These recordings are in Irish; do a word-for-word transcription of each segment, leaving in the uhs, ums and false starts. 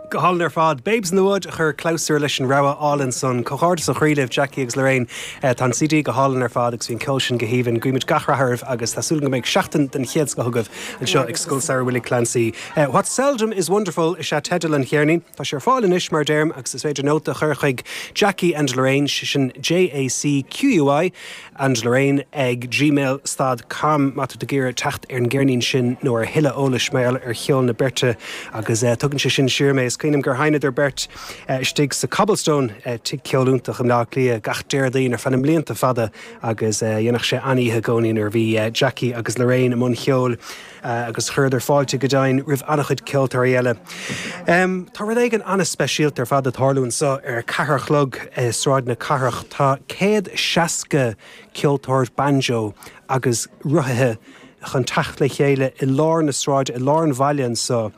Go hálainn ar fad. Babes in the Wood a chuir clabhsúr leis an rogha álainn san. Comhghairdeas ó chroí libh, Jackie agus Lorraine. Tá an C D go hálainn ar fad agus bhí an ceol sin go haoibhinn. Guímid gach rath oraibh agus tá súil go mbeidh seachtain den chéad scoth agaibh anseo ag Scoil Samhraidh Willie Clancy. What Seldom is Wonderful is ea teideal an cheirnín. Tá sé ar fáil anois mar deirim agus is féidir nóta a chur chuig Jackie and Lorraine, sin J A C Q U I and Lorraine ag gmail stad com má tá tú ag iarraidh teacht ar an gceirnín sin nó ar thuilleadh eolais mar gheall ar cheol na beirte. Agus uh, tugann sé sin siar mé, is cuimhin liom gur sheinneadar beirt uh, istigh sa Cobblestone, uh, tigh ceoil iontach i mBleá Cliath, gach Déardaoin ar feadh na mblianta fada agus uh, dhéanadh sé an-oíche i gcónaí nuair a bhí uh, Jackie agus Lorraine i mbun cheoil uh, agus chuireadar fáilte go deimhin roimh an-chuid ceoltóirí eile. Um, tá rud éigin an-speisialta ar fad ag tarlú anseo ar ceathair a chlog uh, Sráid na Cathrach. Tá céad seasca ceoltóir banjo agus rothaithe chun teacht le chéile i lár na sráide, i lár an bhaile anseo.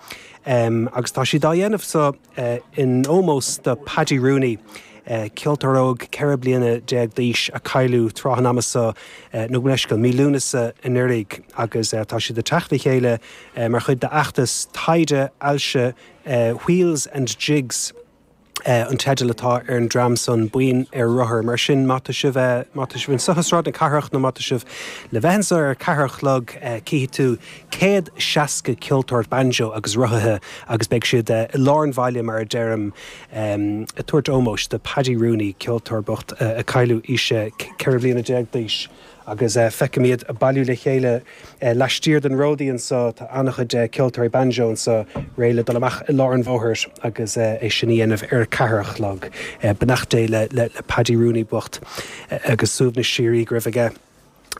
Um, agus tá siad á dhéanamh so uh, in ómós do Paddy Rooney. Uh, ceoltóir óg ceithre bliana déag d'aois a cailleadh tráth an ama seo uh, nó leis go mí Lúnasa anuraidh agus uh, tá siad ag teacht le chéile uh, mar chuid d'fheachtas taighde ailse uh, Wheels and Jigs Uh, an teideal atá ar an dream san, buíon ar rothar. Mar sin, má tá sibh má tá sibh anseo i Sráid na Cathrach nó má tá sibh le bheith anseo ar ceathair a chlog, uh, cífidh tú céad seasca ceoltóir banjo agus rothaithe agus beidh siad uh, i lár an bhaile, mar a deirim, um, ag tabhairt ómóis do Paddy Rooney, ceoltóir bocht uh, a cailleadh aois ceithre bliana déag d'aois. Agus uh, feicim iad ag bailiú le chéile uh, laistiar den Ródaí anseo. Tá an-chuid uh, ceoltóirí banjo anseo réidh le dul amach i lár an bhóthair agus uh, é sin a dhéanamh ar ceathair a chlog. Uh, Beannacht Dé le, le, le Paddy Rooney bocht uh, agus suaimhneas síoraí go raibh aige.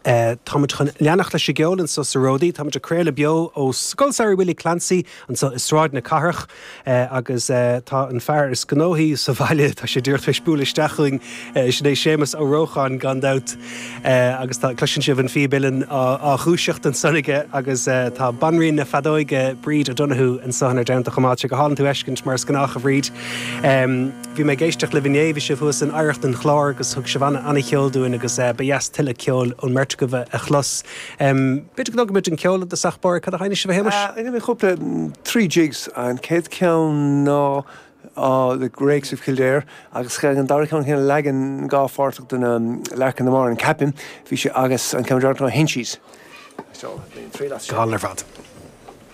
Uh, Táimid chun leanacht leis an gceol anseo sa Ródaí. Táimid ag craoladh beo ó Scoil Samhraidh Willie Clancy anseo i Sráid na Cathrach uh, agus uh, tá an fear is gnóthaí sa bhaile, tá sé díreach tar éis bualadh isteach chugainn, uh, sin é Séamus Ó Rócháin gan dabht, uh, agus tá cloiseann sibh an phíb uilleann á dhúiseacht ansan aige agus uh, tá banríon na feadóige, Bríd O'Donoghue, anseo inár dteannta chomh maith. Go hálainn tú a fheiscint mar is gnách, a Bhríd. Um, bhí mé ag éisteacht libh inné, bhí sibh thuas in Oidhreacht an Chláir agus thug sibh an-cheol dúinn agus uh, ba dheas tuilleadh ceoil ón mbeirt agaibh a chlos. Um, B'fhéidir go muid an ceol de sachbar cad a sheinneann sibh, a Shéamais? Uh, mé cúpla trí jigs. An chéad ceann ná uh, The Rakes of Kildare agus an dara ceann chéan leagan dhá pháirteach den um, Larkin na Mar an Capin bhí sé agus an ceann ná Hinchies. Gal ar fad.